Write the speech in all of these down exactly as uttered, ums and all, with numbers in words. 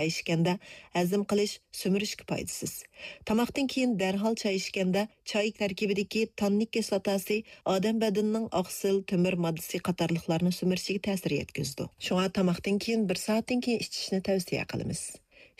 چاي ئىچكەندە ھەزىم قىلىش، سۈمۈرۈشكە پايدىسىز. تاماقتىن كېيىن دەرھال چاي ئىچكەندە چاي تەركىبىدىكى تاننىك كىسلاتاسى ئادەم بەدىنىنىڭ ئاقسىل، تۆمۈر ماددىسى قاتارلىقلارنى سۈمۈرۈشىگە تەسىر يەتكۈزىدۇ. شۇڭا تاماقتىن كېيىن بىر سائەتتىن كېيىن ئىچىشنى تەۋسىيە قىلىمىز.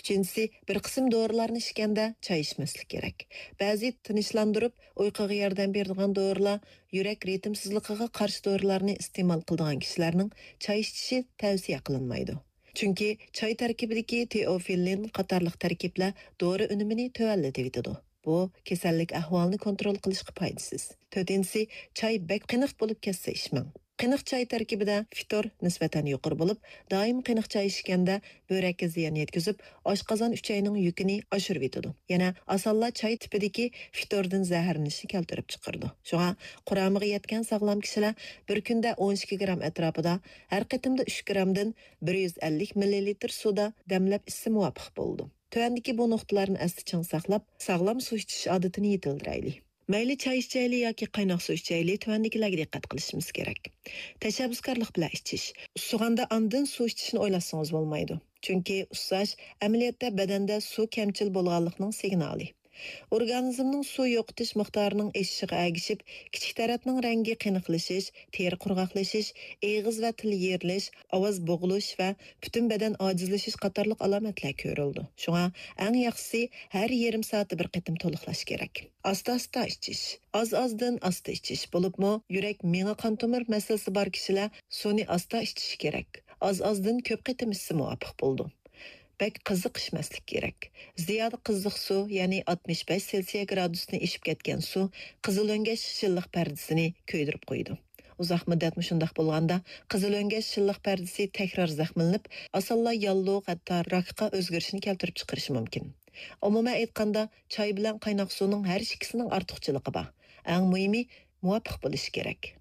ئۈچىنچىسى، بىر قىسىم دورىلارنى ئىچكەندە چاي ئىچمەسلىك كېرەك. بەزى تىنچلاندۇرۇپ، ئۇيقۇغا ياردەم بېرىدىغان دورىلار، يۈرەك رىتىمسىزلىقىغا قارشى دورىلارنى ئىستېمال قىلىدىغان كىشىلەرنىڭ چاي ئىچىشى تەۋسىيە قىلىنمايدۇ. چۈنكى چاي تەركىبىدىكى تېئوفىللىن قاتارلىق تەركىبلەر دورا ئۈنۈمىنى تۆۋەنلىتىۋېتىدۇ. بۇ كېسەللىك ئەھۋالىنى كونترول قىلىشقا پايدىسىز. تۆتىنچىسى، چاي بەك قېنىق بولۇپ كەتسە ئىچمەڭ. قېنىق چاي تەركىبىدە فىتور نىسبەتەن يۇقىرى بولۇپ، دائىم قېنىق چاي ئىچكەندە بۆرەككە زىيان يەتكۈزۈپ، ئاشقازان ئۈچەينىڭ يۈكىنى ئاشۇرۇۋېتىدۇ. يەنە ئاسانلا چاي تىپىدىكى فىتوردىن زەھەرلىنىشنى كەلتۈرۈپ چىقىرىدۇ. شۇڭا قۇرامىغا يەتكەن ساغلام كىشىلەر بىر كۈندە ئون ئىككى گرام ئەتراپىدا، ھەر قېتىمدا ئۈچ گرامدىن بىر يۈز ئەللىك مىللىلىتىر سۇدا دەملەپ ئىچسە مۇۋاپىق بولىدۇ. تۆۋەندىكى بۇ نۇقتىلارنى ئەستە چىڭ ساقلاپ، ساغلام سۇ ئىچىش ئادىتىنى يېتىلدۈرەيلى. مەيلى چاي ئىچەيلى ياكى قايناق سۇ ئىچەيلى، تۆۋەندىكىلەرگە دىققەت قىلىشىمىز كېرەك. تەشەببۇسكارلىق بىلەن ئىچىش. ئۇسسىغاندا ئاندىن سۇ ئىچىشنى ئويلاشسىڭىز بولمايدۇ. چۈنكى ئۇسساش ئەمەلىيەتتە بەدەندە سۇ كەمچىل بولغانلىقنىڭ سىگنالى. ئورگانىزمنىڭ سۇ يوقىتىش مىقدارىنىڭ ئېشىشىغا ئەگىشىپ، كىچىك تەرەتنىڭ رەڭگى قېنىقلىشىش، تېرە قۇرغاقلىشىش، ئېغىز ۋە تىل يېرىلىش، ئاۋاز بوغۇلۇش ۋە پۈتۈن بەدەن ئاجىزلىشىش قاتارلىق ئالامەتلەر كۆرۈلىدۇ. شۇڭا ئەڭ ياخشىسى ھەر يېرىم سائەتتە بىر قېتىم تولۇقلاش كېرەك. ئاستا-ئاستا ئىچىش. ئاز-ئازدىن ئاستا ئىچىش، بولۇپمۇ يۈرەك، مېڭە، قان تومۇر مەسىلىسى بار كىشىلەر سۇنى ئاستا ئىچىشى كېرەك. ئاز-ئازدىن كۆپ قېتىم ئىچسە مۇۋاپىق بولىدۇ. بەك قىزىق ئىچمەسلىك كېرەك. زىيادە قىزىق سۇ، يەنى ئاتمىش بەش سېلسىيە گرادۇستىن ئېشىپ كەتكەن سۇ قىزىل ئۆڭگەش شىللىق پەردىسىنى كۆيدۈرۈپ قويىدۇ. ئۇزاق مۇددەت مۇشۇنداق بولغاندا، قىزىل ئۆڭگەش شىللىق پەردىسى تەكرار زەخىملىنىپ، ئاسانلا ياللۇغ، ھەتتا راكقا ئۆزگىرىشنى كەلتۈرۈپ چىقىرىشى مۇمكىن. ئومۇمەن ئېيتقاندا، چاي بىلەن قايناق سۇنىڭ ھەر ئىككىسىنىڭ ئارتۇقچىلىقى بار. ئەڭ مۇھىمى، مۇۋاپىق بولۇشى كېرەك.